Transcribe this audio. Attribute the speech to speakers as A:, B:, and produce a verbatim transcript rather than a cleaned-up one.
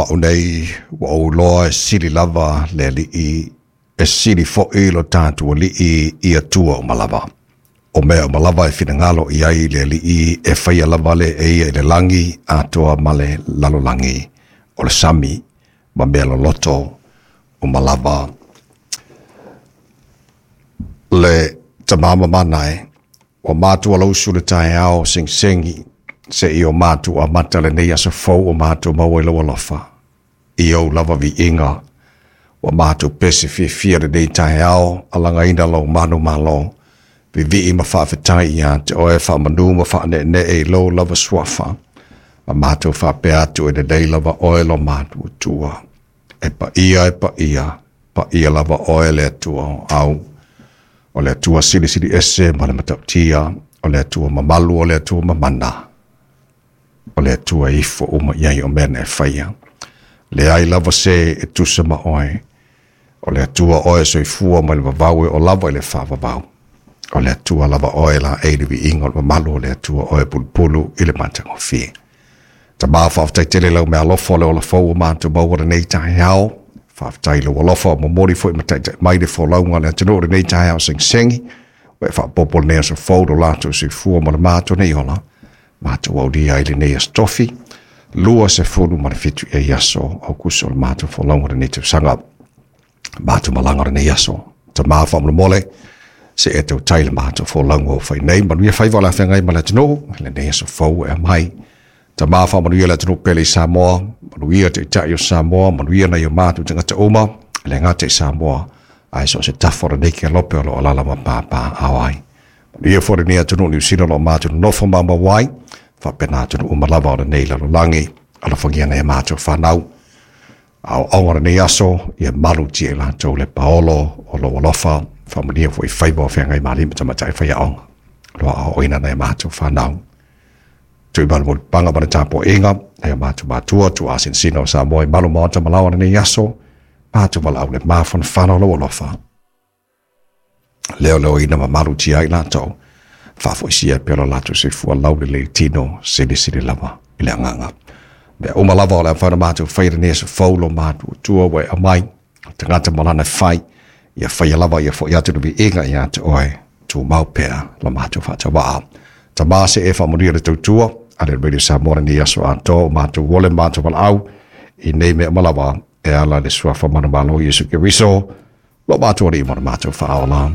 A: au nei, ua ou iloa e sili lava le Alii, e sili foʻi lo tatou Alii i Atua uma lava. O mea uma lava e finagalo i ai le Alii e faia lava le e ia i le lagi atoa ma le lalolagi, o le sami ma mea loloto uma lava. Le tamama e, ua matou alausu le taeao segisegi seia o matou amata lenei aso fou o matou maua i lou alofa. I ou lava viiga, ua matou pese fiafia lenei taeao, alagaina lou manumalo, vivii ma faafetai ia te oe faamanu ma faaneenee i lou lava suafa. Ma matou faapea atu e lelei lava oe lo matou Atua. E paia e paia, paia lava oe le Atua o au. O le Atua silisili ese ma le matautia, o le Atua mamalu, o le Atua mamana. O le Atua ifo uma i ai o mea na e faia. Leai lava se e tusa ma oe. O le Atua oe soifua mai le vavau e o lava i le faavavau. O le Atua lava oe la e le viiga o le mamalu, o le Atua oe pulupulu i le matagofie. Tama faafetai tele lau meaalofa o le ola fou o matou maua lenei taeao. Faafetai lou alofa o momoli foi ma taitai mai le folauga a le atunuu lenei taeao segisegi. Ua e faaopoopo lenei aso fou lo latou soifua ma le matou nei ola. Matou aulia ai lenei aso tofi. Lua sefulu ma le fitu i aso o kuso o le matou folauga lenei tausaga. Matou malaga lenei aso. Tama faamolemole se e tautai le matou folauga o fai nei. Manuia faiva o le afeagai ma le atunuu. Lenei aso fou e aumai. Tama faamanuia le atunuu pele i Samoa, manuia taitai o Samoa, manuia nai o matou tagata uma, le gata i Samoa, ae so o se tafa o lenei kelope o lo o alaala ma papaaao ai. Manuia foi lenei atunuu Niu Sila o lo o matou nonofo maumau ai, faapena atunuu uma lava o lenei lalolagi, alofagia nai a matou fanau. Aoaoga o lenei aso, ia malutia i latou le paolo o lou alofa, faamanuia foi i faiva o feagai ma alii ma tamaitai faiaoga, o lo o aoaoina nai a matou fanau. Tuimalemulipaga ma le tapuaiga nai o matou matua tuuasinasina o Samoa i malu maota ma laoa lenei aso, matou valaau le mafanafana o lou alofa. Leoleoina ma malutia ai latou, faafoisia pea lo latou soifua laulelei tino silisili lava i le agaga. Mea uma lava o le a mafai ona matou faia lenei aso fou lo matou Atua ua e aumai, o tagata ma lana fai, ia faia lava ia foʻi atu le viiga ia te oe, tumau pea lo matou faatauvaa. Tama se e faamanuia le tautua a le Radio Samoa lenei aso atoa o matou ole matou valaau i nei mea uma lava e ala i le suafa manumalo o Iesu Keriso, lo matou Alii ma lo matou Faaola.